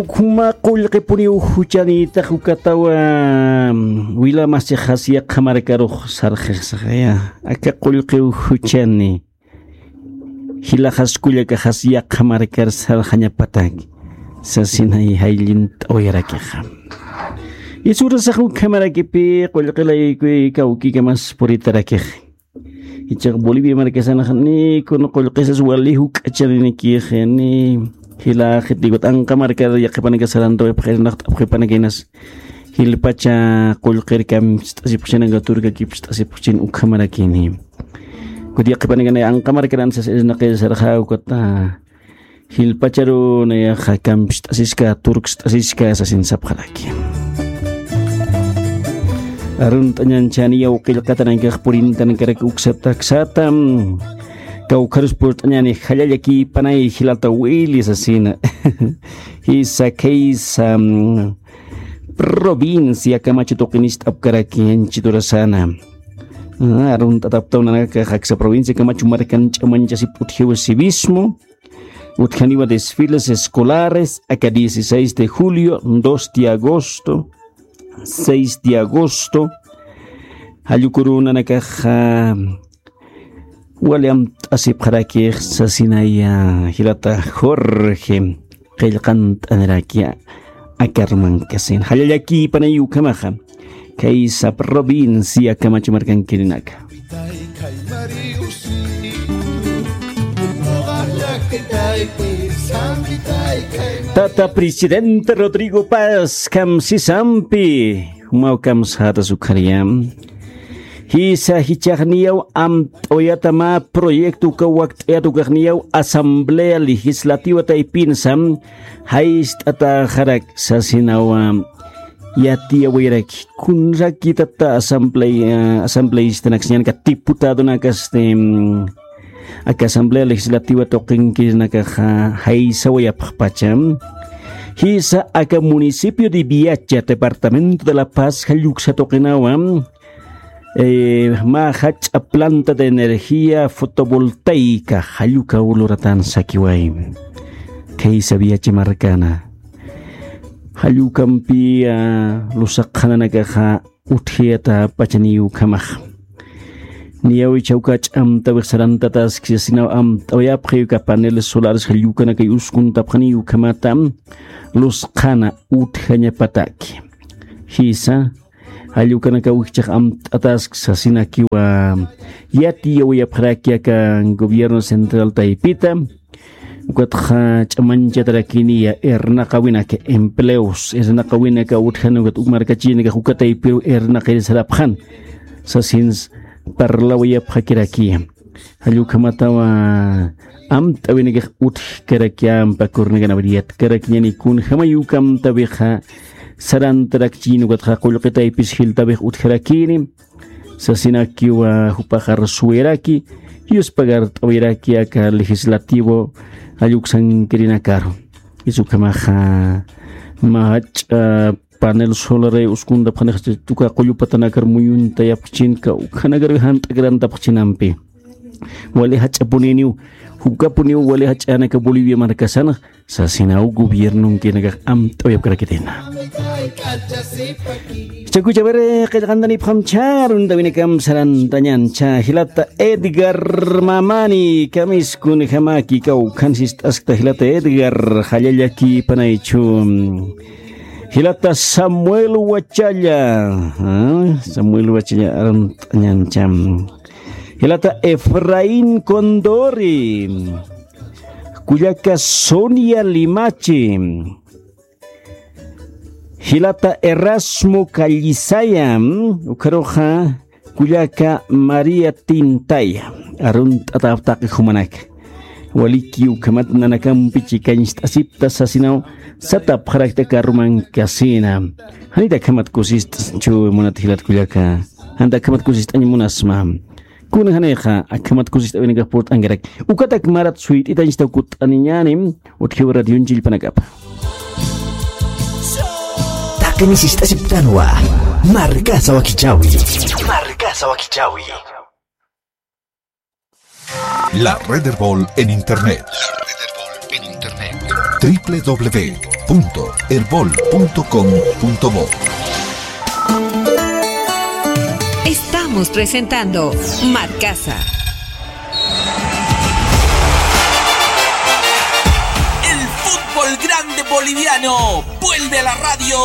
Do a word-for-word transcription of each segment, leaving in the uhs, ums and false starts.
Ukhama qullqipuniw juchanïtax ukatawa, mm, wilamasixas yaqha markarux sarxixsaxaya. Aka qullqiw juchani. Jilaxas kullakaxas yaqha markar sarxañapatak. Sasinay jayllint'awayarakixa. Isurasax ukhamarakipi qullqilaykuy kawkikamas puritarakix. Ichax Bolivia markasanax ni kun qullqisas wali juk'achaninikix ni jilaxiti, ukat anqa markar yaqhipanaka sarantawayapxirinax t'apxipanakinas jilpacha qullqir kampist'asipxchinaka turkakipist'asipxchin ukhamarakini. Ukat yaqhipanakana anqa markaran sas irnaqir sarxa ukata jilpacharu nayaxa kampist'asiska turkst'asiska sasin sapxaraki. Arunt'añanchaniyaw qillqatanakax purintanakarak uksataksata. Kawkharus purt'añani jallallakïpanay jilata Willy sasina. Jisa khaysa, mm, provincia Camacho tuqinist'apkaraki anchiturasana. Ah, arunt'ataptaw nanakax aksa provincia Camacho markan ch'amañchasip utjiw civismo. Utjaniwa desfiles escolares, aka dieciséis de julio, dos de agosto, seis de agosto. Jallukuru nanakax, ah, wali amt'asipxarakix sasinaya jilata Jorge qillqant'anirakiya. Akarmankasin jallallakïpanay ukhamaxa. Khaysa provincia Camacho markankirinaka. Tata presidente Rodrigo Paz, kamsisampi. Jumaw kamsxatas ukhariyam. Jisa jichhaxniyaw amt'awayata mä proyecto uka wakt'ayat ukaxniyaw Asamblea Legislativa taypinsa jayt'ataxarak sasinawa. Yatiyawayaraki kunrakitata asamblea, asambleístanakas ñanaka diputadonakasti, mm, aka Asamblea Legislativa tuqinkirinakaxa jaysawayapxpacha. Jisa aka municipio de Viacha, departamento de La Paz, jalluksa tuqinawa, eh, mä jach'a planta de energía fotovoltaica jallukaw luratan sakiway. Khaysa Viacha markana. Jallukampi, ah, lusaqxananakaxa utjayata pachaniw ukhamax. Niyaw ichhawka ch'amtawix sarantataski sasinaw amt'awayapxi uka paneles solares jallukanakay uskuntapxaniw ukhamata lusqhana utjañapataki. Jisa, jallukanakaw jichhax amt'ataski sasinakiwa yatiyawayapxaraki aka gobierno central taypita. Ukatxa ch'amañchatarakiniya irnaqawinaka empleos, irnaqawinaka utjani ukat uk markachïnakax uka taypiru irnaqir sarapxan. Sasins parlawayapxakirakiya. Jall ukhamatawa amt'awinakax utjkarakiya, ampa kurnikan abriyat karakiñani kunjamay uka amtawixa sarantarakchïn ukatxa qullqi taypis jiltawix utjarakini. Sasinakiwa jupaxar suwiraki, yuspagart'awiraki aka legislativo jall uksankirinakaru. Jisa ukhamaxa mä jach'a panel solar uskuntapxanix uka qullu patanakar muyuntayapxchinka ukhanakar jant'akirantapxchinampi. Wali jach'apuniniw, jukapuniw wali jach'anaka Bolivia markasanx, sasinaw gobiernonkinakax amt'awayapkarakitayna. Chakucha, a ver, qillqantanipxam chä, aruntawinakam sarantañan chä, jilata Edgar Mamani, kamiskunjamaki kawkhan sist'askta jilata Edgar, jallallakïpanaychu. Jilata Samuel Wachalla, ah, Samuel Wachalla arunt'añan chä. Jilata Efraín Condori, kullaka Sonia Limachi, jilata Erasmo Callisaya, ukharuxa kullaka María Tintaya, arunt'atapxtaki jumanaka. Waliki ukhamat nanakampi chikañcht'asipta sasinaw satapxarakta karumankasina. Janit akhamat kusist'chu munat jilat kullaka. Janit akhamat kusist'añ munasma. Kuna janixa akhamat kusist'awinakax purt'ankarak. Ukatak marat suyt'itañchtaw kutt'aniñäni utjiw radionchillpanakapa. Taqini sist'asiptanwa. Markasa wakichawi. Markasa wakichawi. La Red Erbol en Internet. La Red Erbol en Internet. W W W punto erbol punto com punto bo. Estamos presentando Marcasa. El fútbol grande boliviano vuelve a la radio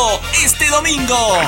este domingo.